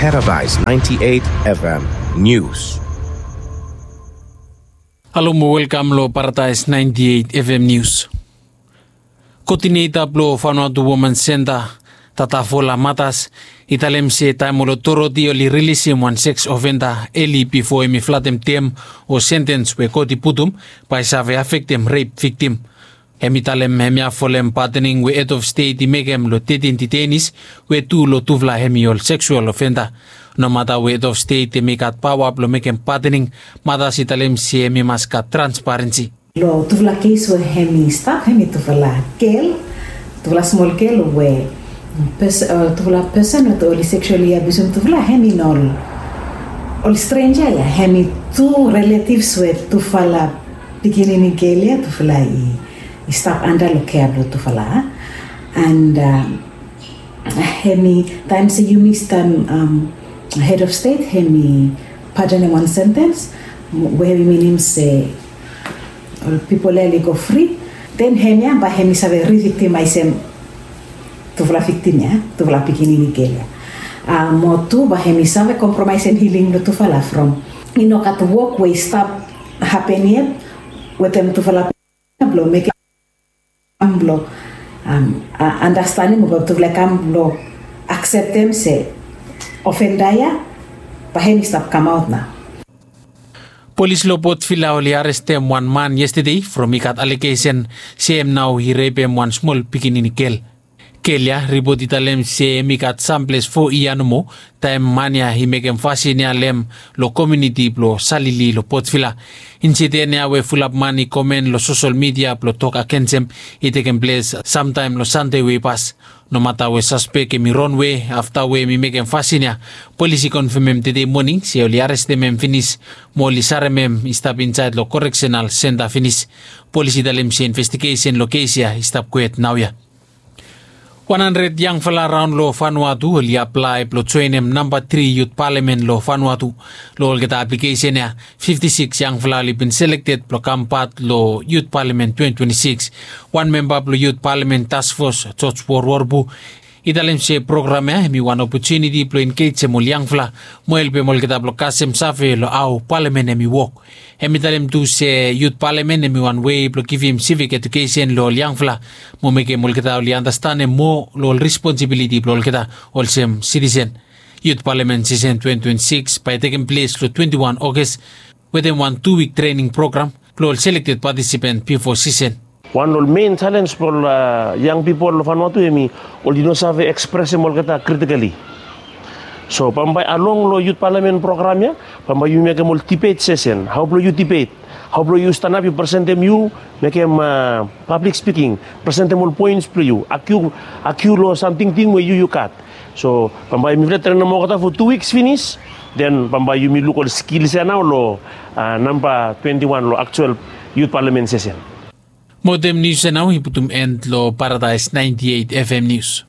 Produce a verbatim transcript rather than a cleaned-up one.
Paradise ninety-eight F M News. Halo mo welkam lo Paradise ninety-eight F M News. Koodineta blo Vanuatu Women Centre, Tata Fola Matas, i talem se taem ol otoriti oli rilisim wan seks ofenda eli bifo hemi flatem tem o sentens we kot i putum, bae i save afektem rep viktim. Hemi talem hemia folem patening we hed of stet i mekem lo tetin ditenis, we tu lo tufala hemi ol seksual ofenda. Nomata we hed of stet hemi gat paoa blo mekem patening, Matas i talem se hemi mas gat transparensi. Lo tufala kes we hemi stap, hemi tufala gel, tufala smol gel we pes- tufala pesen we oli seksuali abiusim tufala, hemi no ol strenja ya, hemi tu relatives we tufala pikinini gel ya tufala i stap anda lo kea blo tufala. And hemi taem se yumi taem hed of stet hemi patenem wan sentens, we hemi minim se ol pipol ya oli go fri, den hemia bae hemi save riviktimaesem tufala viktim ya, tufala pikinini gel ya. Mo tu bae hemi save kompromaesem hiling blo tufala from i no gat wok we i stap hapen yet wetem tufala blo mekem blo andastanem o bae tufala i kam blo akseptem se ofenda ya bae hemi stap kamaot nao. Polis lo Port Vila oli arestem wan man yestede from i gat alegesen se hem nao i repem wan smol pikinini gel. Gel ya, ripot i talem se hem i gat samples fo yia nomo taem man ya i mekem fasin ya lo hem lo komuniti blo Salili lo Port Vila. Insiden ya we fulap man i komen lo sosol midia blo tok agensem i tekem ples samtaem lo Sande we i pas. Nomata we saspek hemi ronwe afta we hemi mekem fasin ya, polis i konfemem tede moning se oli arestem hem finis mo oli sarem hem i stap insaed lo koreksenal senta finis. Polis i talem se investigesen lo kes ya i stap kwet naoia. Wan handred yangfala raon lo Vanuatu oli aplae blo joenem namba tri yut palamen lo Vanuatu. Lo olgeta aplikesen ya, fifti sikis yangfala oli bin selekted blo kam pat lo yut palamen twenti twenti sikis. Wan memba blo yut palamen taskfos, George Worworbu, i talem se program ya hemi wan opotuniti blo engejem ol yangfala mo helpem olgeta blo kasem save lo hao palamen hemi wok. Hemi talem tu se yut palamen hemi wan wei blo givim sivik ejukesen lo ol yangfala mo mekem olgeta oli andastanem moa lo ol responsibiliti blo olgeta olsem sitisen. Yut palamen sisen twenti twenti sikis bae i tekem ples lo twenti wan Oges wetem wan tu wik trening program blo ol selekted patisipen bifo sisen. Wan lo ol men jalens blo ol yang pipol lo Vanuatu hemi oli no save ekspresem olgeta kritikali. So bambae along lo yut palamen program ya, bambae yu mekem ol dibet sesen, hao blo yu dibet, hao blo yu stanap yu presentem yu mekem pablik spiking, presentem ol poens blo yu, agiu, agiu lo sam tingting we yu yu gat. So bambae mifala trenem olgeta fo tu wiks finis, den bambae yumi luk ol skils ya nao lo namba twenti wan lo aktual yut palamen sesen. Mo wetem nius ya nao i putum en lo Paradaes naenti eit F M Nius.